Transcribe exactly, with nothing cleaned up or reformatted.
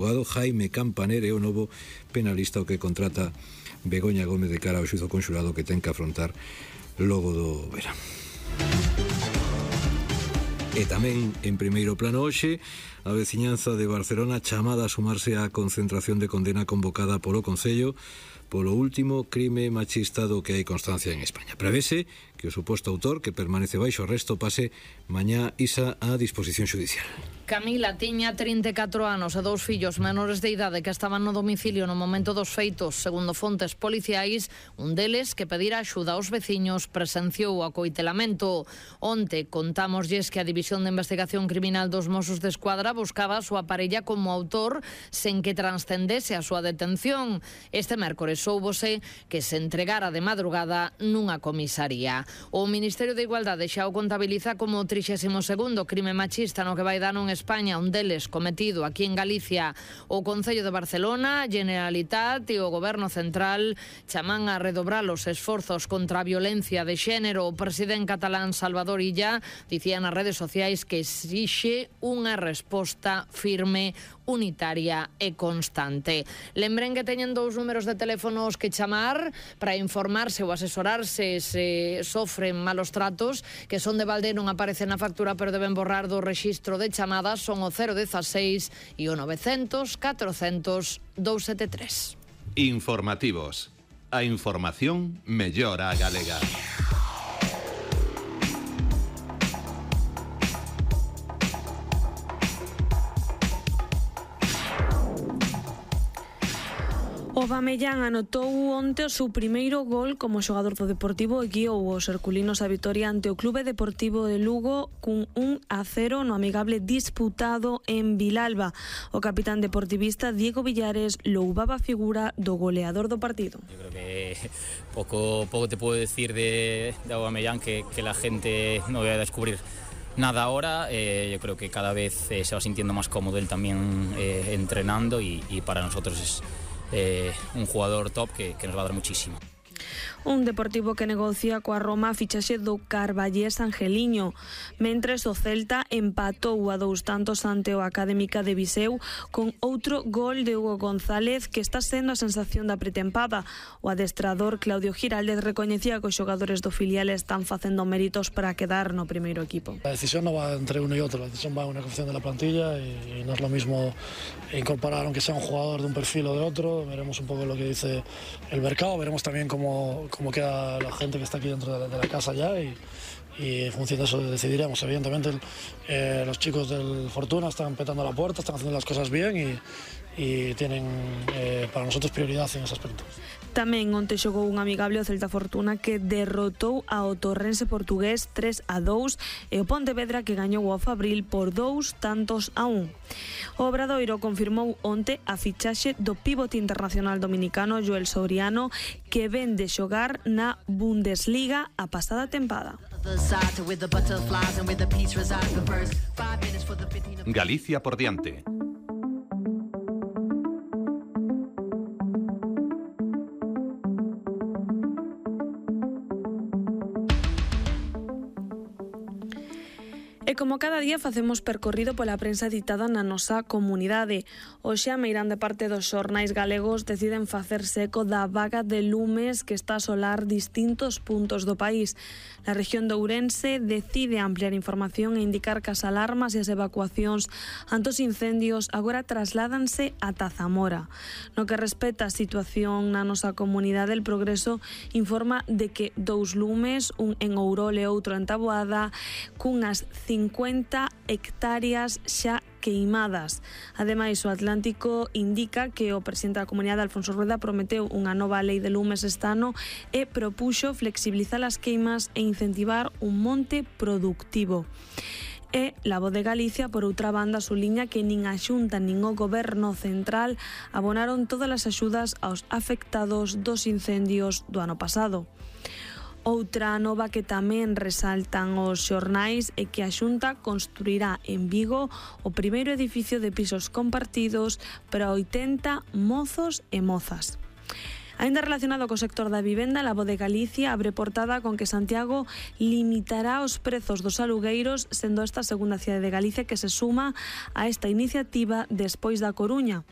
O abogado Jaime Campaner é o novo penalista o que contrata Begoña Gómez de cara ao xuízo conxurado que ten que afrontar logo do verán. E tamén en primeiro plano hoxe a veciñanza de Barcelona chamada a sumarse á concentración de condena convocada polo Concello polo último crime machista do que hai constancia en España. Prevese que o suposto autor, que permanece baixo arresto, pase mañá isa á disposición xudicial. Camila tiña trinta e catro anos e dous fillos menores de idade que estaban no domicilio no momento dos feitos. Segundo fontes policiais, un deles, que pedira axuda aos veciños, presenciou o acoitelamento. Onte contámoslles que a División de Investigación Criminal dos Mossos de Escuadra buscaba a súa parella como autor sen que transcendese a súa detención. Este mércores soubose que se entregara de madrugada nunha comisaría. O Ministerio de Igualdade xa o contabiliza como o trixésimo segundo crime machista no que vai dar en España, un deles cometido aquí en Galicia. O Concello de Barcelona, Generalitat e o Goberno Central chaman a redobrar os esforzos contra a violencia de xénero. O presidente catalán Salvador Illa dicía nas redes sociais que exixe unha resposta firme, unitaria e constante. Lembren que teñen dous números de teléfonos que chamar para informarse ou asesorarse se sofren malos tratos, que son de balde, non aparece na factura, pero deben borrar do rexistro de chamadas. Son o cero dieciséis e o novecientos catrocentos doscientos setenta e tres. Informativos. A información mellora a galega. O Bamellán anotou onte o seu primeiro gol como xogador do Deportivo e guiou os herculinos a vitoria ante o Clube Deportivo de Lugo cun un a cero no amigable disputado en Vilalba. O capitán deportivista Diego Villares loubaba a figura do goleador do partido. Yo creo que poco, poco te puedo decir de, de Aubameyang que, que la gente no vaya a descubrir nada ahora. Eh, yo creo que cada vez eh, se va sintiendo más cómodo él también eh, entrenando y, y para nosotros es Eh, un jugador top que, que nos va a dar muchísimo. Un Deportivo que negocia coa Roma a fichaxe do Carballés Angeliño, mentres o Celta empatou a dous tantos ante o Académica de Viseu con outro gol de Hugo González que está sendo a sensación da pretempada. O adestrador Claudio Giraldez recoñecía que os xogadores do filial están facendo méritos para quedar no primeiro equipo. La decisión no va entre uno y otro, la decisión va en una cuestión de la plantilla y, y no es lo mismo incorporar aunque sea un jugador de un perfil o de otro. Veremos un poco lo que dice el mercado, veremos también cómo cómo queda la gente que está aquí dentro de la, de la casa ya y, y en función de eso decidiremos. Evidentemente el, eh, los chicos del Fortuna están petando la puerta, están haciendo las cosas bien y, y tienen eh, para nosotros prioridad en ese aspecto. Tamén onte xogou un amigable o Celta Fortuna que derrotou ao Torrense portugués tres a dous e o Pontevedra que gañou ao Fabril por dous tantos a un. O Obradoiro confirmou onte a fichaxe do pivote internacional dominicano Joel Soriano, que ven de xogar na Bundesliga a pasada tempada. Galicia por diante. E como cada día facemos percorrido pola prensa editada na nosa comunidade. Hoxe a meirande parte dos xornais galegos deciden facerse eco da vaga de lumes que está a asolar distintos puntos do país. Na rexión de Ourense decide ampliar información e indicar que as alarmas e as evacuacións ante os incendios agora trasládanse ata Zamora. No que respecta a situación na nosa comunidade, El Progreso informa de que dous lumes, un en Ourol e outro en Taboada, cunhas cincuenta hectáreas xa queimadas. Ademais, o Atlántico indica que o presidente da comunidade, Alfonso Rueda, prometeu unha nova lei de lumes este ano e propuxo flexibilizar as queimas e incentivar un monte productivo. E La Voz de Galicia, por outra banda, suliña que nin a Xunta nin o Goberno Central abonaron todas as axudas aos afectados dos incendios do ano pasado. Outra nova que tamén resaltan os xornais é que a Xunta construirá en Vigo o primeiro edificio de pisos compartidos para oitenta mozos e mozas. Ainda relacionado co sector da vivenda, La Voz de Galicia abre portada con que Santiago limitará os prezos dos alugueiros, sendo esta a segunda cidade de Galicia que se suma a esta iniciativa despois da Coruña.